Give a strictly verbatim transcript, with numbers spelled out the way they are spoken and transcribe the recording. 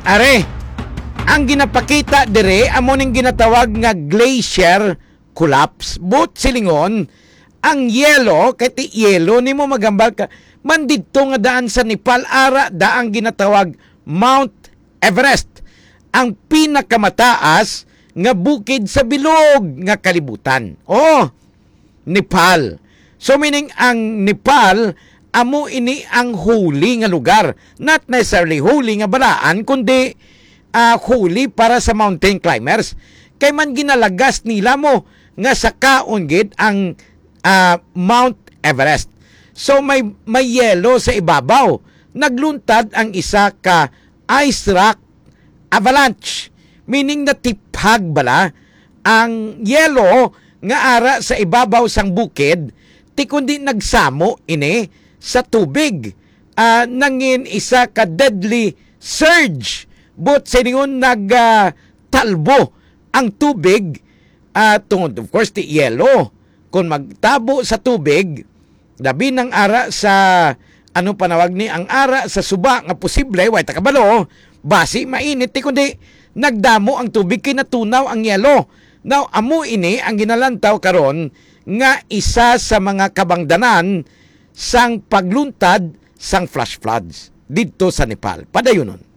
Are, ang ginapakita dire amo ning ginatawag nga glacier collapse. But silingon, ang yelo, kay ti yelo nimo magambal ka, man didto nga daan sa Nepal, ara da ang ginatawag Mount Everest, ang pinakamataas nga bukid sa bilog nga kalibutan. Oh, Nepal. So, meaning, ang Nepal, amo ini ang holy nga lugar. Not necessarily holy nga balaan, kundi, ah, holy para sa mountain climbers. Kay man ginalagas nila mo nga sakaon gid ang, ah, Mount Everest. So, may, may yelo sa ibabaw. Nagluntad ang isa ka ice rock avalanche, meaning natiphag bala ang yelo nga ara sa ibabaw sang bukid, ti kundi nagsamo ini sa tubig. Ah, nangin isa ka deadly surge, but silingon nag, ah, talbo ang tubig, ah, tungod, of course, ti yelo. Kung magtabo sa tubig, labi nang ara sa, ano panawag ni, ang ara sa suba nga posible, way ta kabalo, basi mainit, ti kundi nagdamo ang tubig kay natunaw ang yelo. Now, amo ini ang ginalantaw karon nga isa sa mga kabangdanan sang pagluntad sang flash floods didto sa Nepal. Padayunon.